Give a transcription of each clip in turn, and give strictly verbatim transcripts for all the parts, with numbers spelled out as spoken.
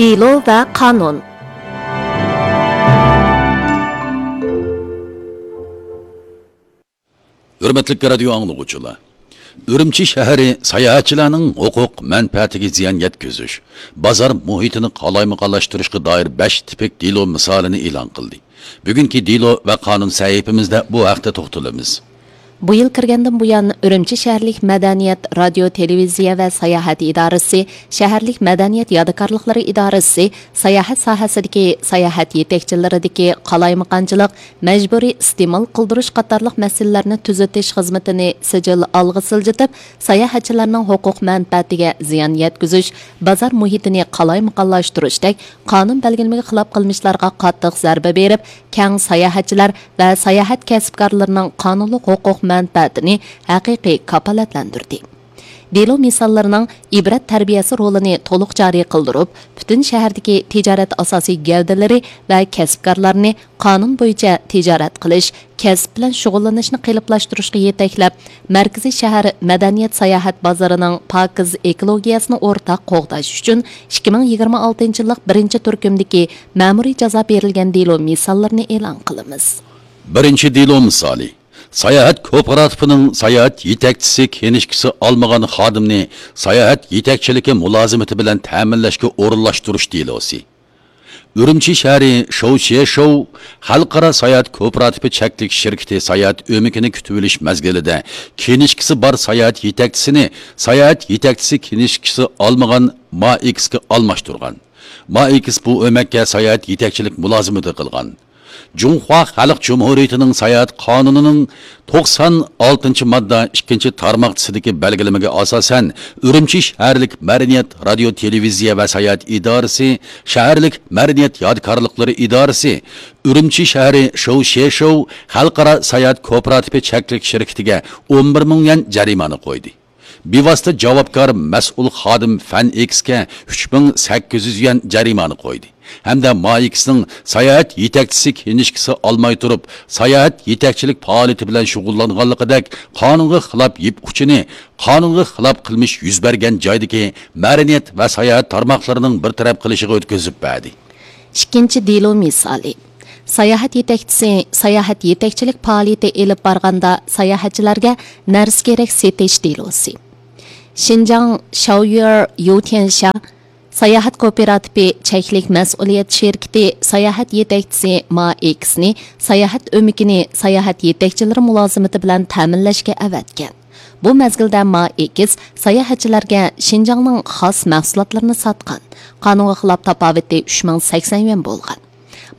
دېلو ۋە قانۇن. ھۆرمەتلىك رادىيو ئاڭلىغۇچىلار! ئۈرۈمچى شەھىرى ساياھەتچىلەرنىڭ ھوقۇق مەنپەئەتىگە زىيان يەتكۈزۈش، بازار مۇھىتىنى قالايمىقانلاشتۇرۇشقا دائىر بەش تىپىك دېلو مىسالىنى ئېلان قىلدى. بۈگۈنكى دېلو ۋە قانۇن سەھىپىمىزدە بۇ ھەقتە توختىلىمىز. بۇ يىل كىرگەندىن بۇيان، ئۈرۈمچى شەھەرلىك مەدەنىيەت، رادىيو، تېلېۋىزىيە ۋە ساياھەت ئىدارىسى، شەھەرلىك مەدەنىيەت يادىكارلىقلىرى ئىدارىسى ساياھەت ساھەسىدىكى ساياھەت يېتەكچىلىرىدىكى قالايمىقانچىلىق، مەجبۇرىي ئىستېمال قىلدۇرۇش قاتارلىق مەسىلىلەرنى تۈزىتىش خىزمىتىنى سىجىل ئالغا سىلجىتىپ، ساياھەتچىلەرنىڭ ھوقۇق مەنپەئەتىگە زىيان يەتكۈزۈش، بازار مۇھىتىنى قالايمىقانلاشتۇرۇشتەك قانۇن بەلگىلىمىگە خىلاپ قىلمىشلارغا قاتتىق زەربە بېرىپ، كەڭ ساياھەتچىلەر ۋە ساياھەت كەسىپكارلىرىنىڭ قانۇنلۇق ھوقۇق مەنپەئەتىنى ھەقىقىي كاپالەتلەندۈردى. دېلو مىساللىرىنىڭ ئىبرەت تەربىيەسى رولىنى تولۇق جارى قىلدۇرۇپ، پۈتۈن شەھەردىكى تىجارەت ئاساسىي گەۋدىلىرى ۋە كەسىپكارلارنى قانۇن بويىچە تىجارەت قىلىش، كەسىپ بىلەن شۇغۇللىنىشنى قېلىپلاشتۇرۇشقا يېتەكلەپ، مەركىزىي شەھەر مەدەنىيەت ساياھەت بازىرىنىڭ پاكىز ئېكولوگىيەسىنى ئورتاق قوغداش ئۈچۈن ئىككى مىڭ يىگىرمە ئالتىنچى يىللىق بىرىنچى تۈركۈمدىكى مەمۇرىي جازا بېرىلگەن دېلو مىساللىرىنى ئېلان قىلىمىز. بىرىنچى دېلو مىسالى. ساياھەت كوپىراتىپىنىڭ ساياھەت يېتەكچىسى كىنىشكىسى ئالمىغان خادىمنى ساياھەت يېتەكچىلىكى مۇلازىمىتى بىلەن تەمىنلەشكە ئورۇنلاشتۇرۇش دېلوسى. ئۈرۈمچى شەھىرى شوۋ شيەشوۋ خەلقئارا ساياھەت كوپىراتىپى چەكلىك شىركىتى ساياھەت ئۆمىكىنى كۈتۈۋېلىش مەزگىلىدە كىنىشكىسى بار ساياھەت يېتەكچىسىنى ساياھەت يېتەكچىسى كىنىشكىسى ئالمىغان ما ئېكسكا ئالماشتۇرغان. ما ئېكس بۇ ئۆمەككە ساياھەت يېتەكچىلىك مۇلازىمىتى قىلغان. جۇڭخۇا خەلق جۇمھۇرىيىتىنىڭ ساياھەت قانۇنىنىڭ توقسان ئالتىنچى ماددا ئىككىنچى تارماقچىسىدىكى بەلگىلىمىگە ئاساسەن، ئۈرۈمچى شەھەرلىك مەدەنىيەت، رادىيو، تېلېۋىزىيە ۋە ساياھەت ئىدارىسى، شەھەرلىك مەدەنىيەت يادىكارلىقلىرى ئىدارىسى، ئۈرۈمچى شەھىرى شوۋ شيەشوۋ خەلقئارا ساياھەت كوپىراتىپى چەكلىك شىركىتىگە ئون بىر مىڭ يۈەن جەرىمانە قويدى. بىۋاسىتە جاۋابكار مەسئۇل خادىم فەن ئېكسكە ئۈچ مىڭ سەككىز يۈز يۈەن جەرىمانە قويدى ھەمدە ما ئېكسنىڭ ساياھەت يېتەكچىسى كىنىشكىسى ئالماي تۇرۇپ، ساياھەت يېتەكچىلىك پائالىيىتى بىلەن شۇغۇللانغانلىقىدەك قانۇنغا خىلاپ يىپ ئۇچىنى، قانۇنغا خىلاپ قىلمىش يۈز بەرگەن جايدىكى مەدەنىيەت ۋە ساياھەت تارماقلىرىنىڭ بىر تەرەپ قىلىشىغا ئۆتكۈزۈپ بەردى. ئىككىنچى دېلو مىسالى. ساياھەت يېتەكچىسى ساياھەت يېتەكچىلىك پائالىيىتى ئېلىپ بارغاندا ساياھەتچىلەرگە نەرسە-كېرەك سېتىش دېلوسى. شىنجاڭ شاۋيۈر يۇتيەنشا ساياھەت كوپىراتىپى چەكلىك مەسئۇلىيەت شىركىتى ساياھەت يېتەكچىسى ما ئېكسنى ساياھەت ئۆمىكىنى ساياھەت يېتەكچىلىرى مۇلازىمىتى بىلەن تەمىنلەشكە ئەۋەتكەن. بۇ مەزگىلدە ما ئېكس ساياھەتچىلەرگە شىنجاڭنىڭ خاس مەھسۇلاتلىرىنى ساتقان. قانۇنغا خىلاپ تاپاۋىتى ئۈچ مىڭ سەكسەن يۈەن بولغان.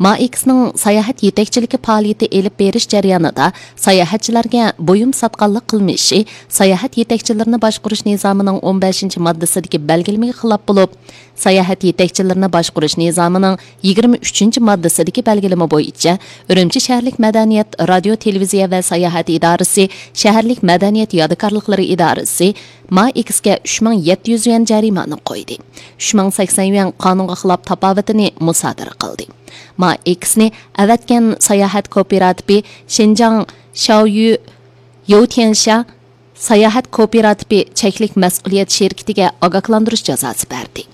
ما ئېكسنىڭ ساياھەت يېتەكچىلىكى پائالىيىتى ئېلىپ بېرىش جەريانىدا ساياھەتچىلەرگە بۇيۇم ساتقانلىق قىلمىشى ساياھەت يېتەكچىلىرىنى باشقۇرۇش نىزامىنىڭ ئون بەشىنچى ماددىسىدىكى بەلگىلىمىگە خىلاپ بولۇپ، ساياھەت يېتەكچىلىرىنى باشقۇرۇش نىزامىنىڭ يىگىرمە ئۈچىنچى ماددىسىدىكى بەلگىلىمە بويىچە ئۈرۈمچى شەھەرلىك مەدەنىيەت، رادىيو، تېلېۋىزىيە ۋە ساياھەت ئىدارىسى، شەھەرلىك مەدەنىيەت يادىكارلىقلىرى ئىدارىسى ما ئېكسكە ئۈچ مىڭ يەتتە يۈز يۈەن جەرىمانە قويدى. ئۈچ مىڭ سەكسەن يۈەن قانۇنغا خىلاپ تاپاۋىتىنى مۇسادىرە قىلدى. ما ئېكسنى ئەۋەتكەن ساياھەت كوپىراتىپى شىنجاڭ شاۋيۈ يوتيەنشا ساياھەت كوپىراتىپى چەكلىك مەسئۇلىيەت شىركىتىگە ئاگاھلاندۇرۇش جازاسى بەردى.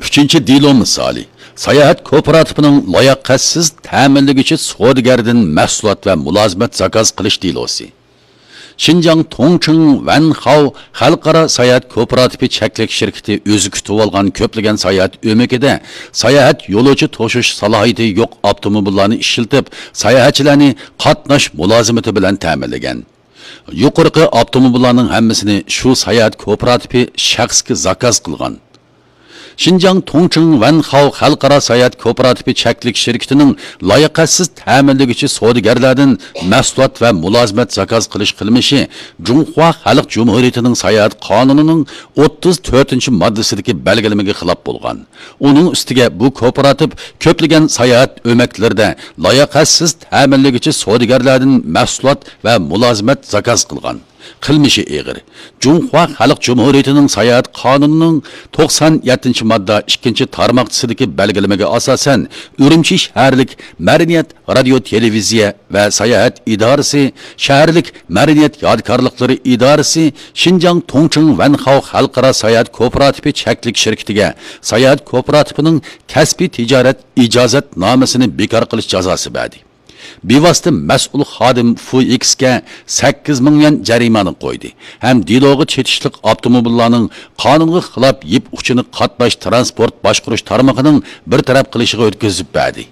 ئۈچىنچى دېلو مىسالى. ساياھەت كوپىراتىپىنىڭ لاياقەتسىز تەمىنلىگۈچى سودىگەردىن مەھسۇلات ۋە مۇلازىمەت زاكاز قىلىش دېلوسى. شىنجاڭ توڭچىڭ ۋەنخاۋ خەلقئارا ساياھەت كوپىراتىپى چەكلىك شىركىتى ئۆزى كۈتۈۋالغان كۆپلىگەن ساياھەت ئۆمىكىدە ساياھەت يولۇچى توشۇش سالاھىيىتى يوق ئاپتوموبىللارنى ئىشلىتىپ، ساياھەتچىلەرنى قاتناش مۇلازىمىتى بىلەن تەمىنلىگەن. يۇقىرىقى ئاپتوموبىللارنىڭ ھەممىسىنى شۇ ساياھەت كوپىراتىپى شەخسكە زاكاز قىلغان. شىنجاڭ توڭچىڭ ۋەنخاۋ خەلقئارا ساياھەت كوپىراتىپى چەكلىك شىركىتىنىڭ لاياقەتسىز تەمىنلىگۈچى سودىگەرلەردىن مەھسۇلات ۋە مۇلازىمەت زاكاز قىلىش قىلمىشى جۇڭخۇا خەلق جۇمھۇرىيىتىنىڭ ساياھەت قانۇنىنىڭ ئوتتۇز تۆتىنچى ماددىسىدىكى بەلگىلىمىگە خىلاپ بولغان. ئۇنىڭ ئۈستىگە بۇ كوپىراتىپ كۆپلىگەن ساياھەت ئۆمەكلىرىدە لاياقەتسىز تەمىنلىگۈچى سودىگەرلەردىن مەھسۇلات ۋە مۇلازىمەت زاكاز قىلغان. قىلمىشى ئېغىر. جۇڭخۇا خەلق جۇمھۇرىيىتىنىڭ ساياھەت قانۇنىنىڭ توقسان يەتتىنچى ماددا ئىككىنچى تارماقچىسىدىكى بەلگىلىمىگە ئاساسەن، ئۈرۈمچى شەھەرلىك مەدەنىيەت، رادىيو، تېلېۋىزىيە ۋە ساياھەت ئىدارىسى، شەھەرلىك مەدەنىيەت يادىكارلىقلىرى ئىدارىسى، شىنجاڭ توڭچىڭ ۋەنخاۋ خەلقئارا ساياھەت كوپىراتىپى چەكلىك شىركىتىگە ساياھەت كوپىراتىپىنىڭ كەسپىي تىجارەت ئىجازەتنامىسىنى بىكار قىلىش جازاسى بەردى. بىۋاسىتە مەسئۇل خادىم فۇ ئىكسكە سەككىز مىڭ يۈەن جەرىمانە قويدى ھەم دېلوغا چېتىشلىق ئاپتوموبىللارنىڭ قانۇنغا خىلاپ يىپ ئۇچىنى قاتناش تىرانسپورت باشقۇرۇش تارمىقىنىڭ بىر تەرەپ قىلىشىغا ئۆتكۈزۈپ بەردى.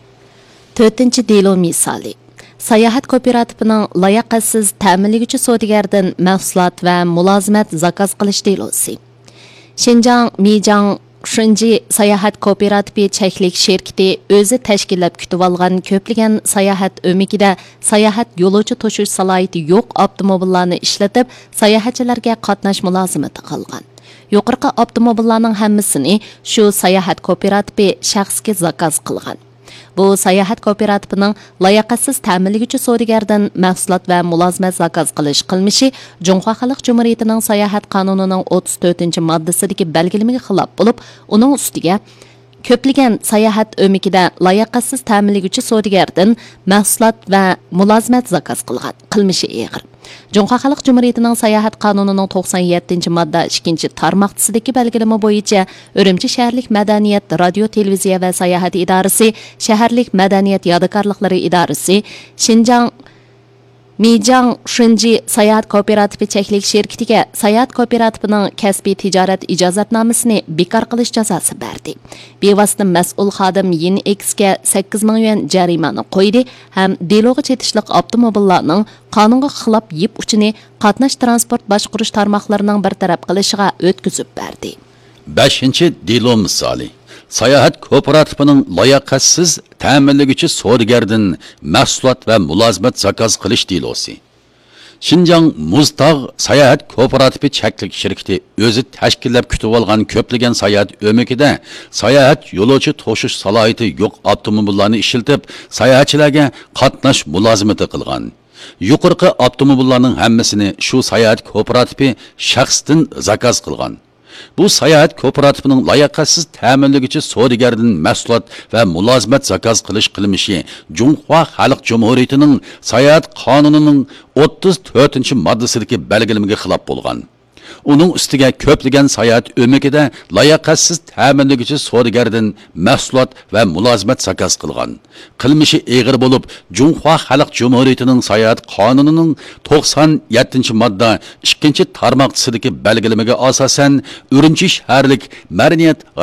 تۆتىنچى دېلو مىسالى. ساياھەت كوپىراتىپىنىڭ لاياقەتسىز تەمىنلىگۈچى سودىگەردىن مەھسۇلات ۋە مۇلازىمەت زاكاز قىلىش دېلوسى. شىنجاڭ مىجاڭ شۇنجى ساياھەت كوپىراتىپى چەكلىك شىركىتى ئۆزى تەشكىللەپ كۈتۈۋالغان كۆپلىگەن ساياھەت ئۆمىكىدە ساياھەت يولۇچى توشۇش سالاھىيىتى يوق ئاپتوموبىللارنى ئىشلىتىپ، ساياھەتچىلەرگە قاتناش مۇلازىمىتى قىلغان. يۇقىرىقى ئاپتوموبىللارنىڭ ھەممىسىنى شۇ ساياھەت كوپىراتىپى شەخسكە زاكاز قىلغان. بۇ ساياھەت كوپىراتىپىنىڭ لاياقەتسىز تەمىنلىگۈچى سودىگەردىن مەھسۇلات ۋە مۇلازىمەت زاكاز قىلىش قىلمىشى جۇڭخۇا خەلق جۇمھۇرىيىتىنىڭ ساياھەت قانۇنىنىڭ ئوتتۇز تۆتىنچى ماددىسىدىكى بەلگىلىمىگە خىلاپ بولۇپ، ئۇنىڭ ئۈستىگە كۆپلىگەن ساياھەت ئۆمىكىدە لاياقەتسىز تەمىنلىگۈچى سودىگەردىن مەھسۇلات ۋە مۇلازىمەت زاكاز قىلغان، قىلمىشى ئېغىر. جۇڭخۇا خەلق جۇمھۇرىيىتىنىڭ ساياھەت قانۇنىنىڭ توقسان يەتتىنچى ماددا ئىككىنچى تارماقچىسىدىكى بەلگىلىمە بويىچە ئۈرۈمچى شەھەرلىك مەدەنىيەت، رادىيو، تېلېۋىزىيە ۋە ساياھەت ئىدارىسى، شەھەرلىك مەدەنىيەت يادىكارلىقلىرى ئىدارىسى، شىنجاڭ مىجاڭ شۇنجى ساياھەت كوپىراتىپى چەكلىك شىركىتىگە ساياھەت كوپىراتىپىنىڭ كەسپىي تىجارەت ئىجازەتنامىسىنى بىكار قىلىش جازاسى بەردى. بىۋاسىتە مەسئۇل خادىم يىن ئېكسكە سەككىز مىڭ يۈەن جەرىمانە قويدى ھەم دېلوغا چېتىشلىق ئاپتوموبىللارنىڭ قانۇنغا خىلاپ يىپ ئۇچىنى قاتناش تىرانسپورت باشقۇرۇش تارماقلىرىنىڭ بىر تەرەپ قىلىشىغا ئۆتكۈزۈپ بەردى. بەشىنچى دېلو مىسالى. ساياھەت كوپىراتىپىنىڭ لاياقەتسىز تەمىنلىگۈچى سودىگەردىن مەھسۇلات ۋە مۇلازىمەت زاكاز قىلىش دېلوسى. شىنجاڭ مۇزتاغ ساياھەت كوپىراتىپى چەكلىك شىركىتى ئۆزى تەشكىللەپ كۈتۈۋالغان كۆپلىگەن ساياھەت ئۆمىكىدە ساياھەت يولۇچى توشۇش سالاھىيىتى يوق ئاپتوموبىللارنى ئىشلىتىپ، ساياھەتچىلەرگە قاتناش مۇلازىمىتى قىلغان. يۇقىرىقى ئاپتوموبىللارنىڭ ھەممىسىنى شۇ ساياھەت كوپىراتىپى شەخستىن زاكاز قىلغان. بۇ ساياھەت كوپىراتىپىنىڭ لاياقەتسىز تەمىنلىگۈچى سودىگەردىن مەھسۇلات ۋە مۇلازىمەت زاكاز قىلىش قىلمىشى جۇڭخۇا خەلق جۇمھۇرىيىتىنىڭ ساياھەت قانۇنىنىڭ ئوتتۇز تۆتىنچى ماددىسىدىكى بەلگىلىمىگە خىلاپ بولغان. ئۇنىڭ ئۈستىگە كۆپلىگەن ساياھەت ئۆمىكىدە لاياقەتسىز تەمىنلىگۈچى سودىگەردىن مەھسۇلات ۋە مۇلازىمەت زاكاز قىلغان. قىلمىشى ئېغىر بولۇپ، جۇڭخۇا خەلق جۇمھۇرىيىتىنىڭ ساياھەت قانۇنىنىڭ توقسان يەتتىنچى ماددا ئىككىنچى تارماقچىسىدىكى بەلگىلىمىگە ئاساسەن، ئۈرۈمچى شەھەرلىك مەدەنىيەت،